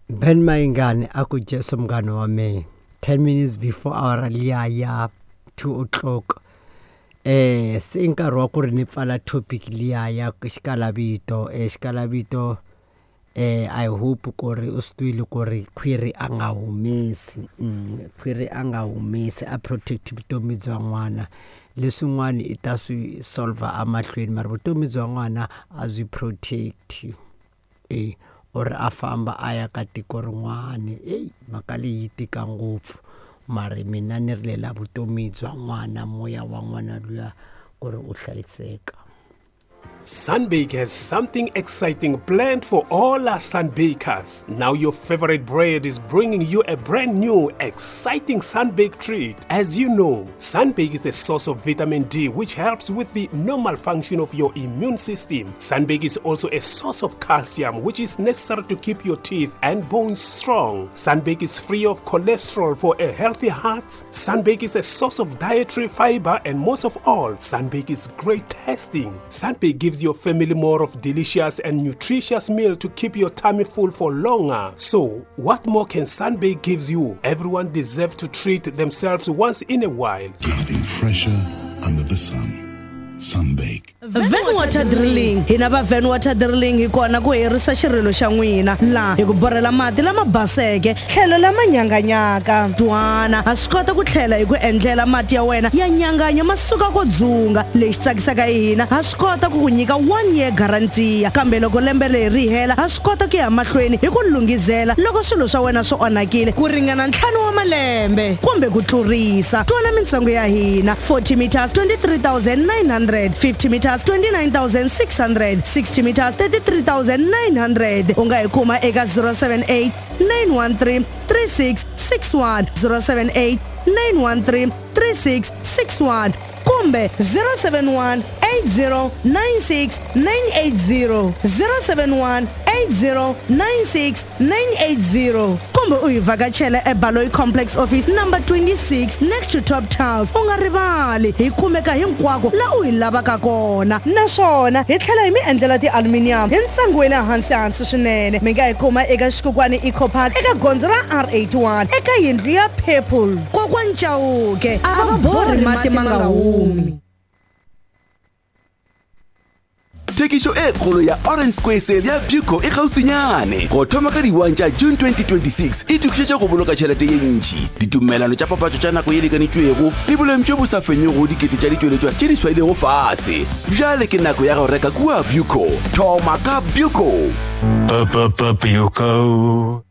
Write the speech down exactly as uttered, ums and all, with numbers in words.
Ben Mayingani a ku Jesu munghana wa mehe ten minutes before hour liya ya two o'clock eh se i nkarhi wa ku ri ni pfala topic liya ya xikalavito eh xikalavito eh I hope ku ri u swi twile ku ri khwiri a nga humesi mm, khwiri a nga humesi a protect vutomi bya n'wana leswin'wana i ta swi solver amahlweni mara vutomi bya n'wana a byi protect e or a famba a ya ka tiko rin'wana eyi mhaka leyi yi tika ngopfu mara mina ni rilela vutomi bya n'wana moya wa n'wana luya ku ri u hlayiseka. Sunbake has something exciting planned for all our Sunbakers. Now your favorite bread is bringing you a brand new, exciting Sunbake treat. As you know, Sunbake is a source of vitamin D which helps with the normal function of your immune system. Sunbake is also a source of calcium which is necessary to keep your teeth and bones strong. Sunbake is free of cholesterol for a healthy heart. Sunbake is a source of dietary fiber and most of all, Sunbake is great tasting. Sunbake gives your family more of delicious and nutritious meal to keep your tummy full for longer. So, what more can Sunbake gives you? Everyone deserves to treat themselves once in a while. Nothing fresher under the sun. Sunbake. Van Water Drilling hina va Van Water Drilling hi kona ku herisa xirilo xa n'wina laha hi ku borhela mati lama baseke tlhelo lama nyanganyaka twana ha swi kota ku tlhela hi ku endlela mati ya wena ya nyanganya ma suka ko dzunga lexi tsakisaka hi hina ha swi kota ku ku nyika one year guarantee kambe loko lembe leri ri hela ha swi kota ku ya mahlweni hi ku lunghizela loko swilo swa wena swi onhakile ku ringana ntlhanu wa malembe kumbe ku tlurisa twana mintsengo ya hina forty meters twenty-three thousand nine hundred fifty meters twenty-nine thousand six hundred sixty meters thirty-three thousand nine hundred u nga hi kuma eka zero seven eight nine one three three six six one zero seven eight nine one three three six six one kumbe zero seven one eight zero nine six nine eight zero zero seven one eight zero nine six nine eight zero kumbe u hi vhakachela eBaloyi Complex Office number twenty-six next to Top Tiles u nga rivali hi kumeka hinkwako la u hi lavaka kona naswona hi tlhela hi mi endlela ti-aluminium hi ntsengo wa le hansi hansi swinene mi nga hi kuma eka Xikokwani Eco Park eka gondzo ra R eighty-one eka yindlu ya Purple Kokwani Chauke a va borhi mati ma nga humi. Thekišo e kgolo ya Orange Square Sale ya Buco e kgauswinyane go thoma ka di-one tša June twenty twenty-six e tokišetša go boloka tšhelete ye ntši ditumelano tša papatšo tša nako ye lekanetšwego le boleng bjo bo sa fenyego dikete tša ditšweletšwa tše di swailego fase bjale ke nako ya go reka kua Buco thoma ka Buco. Buco.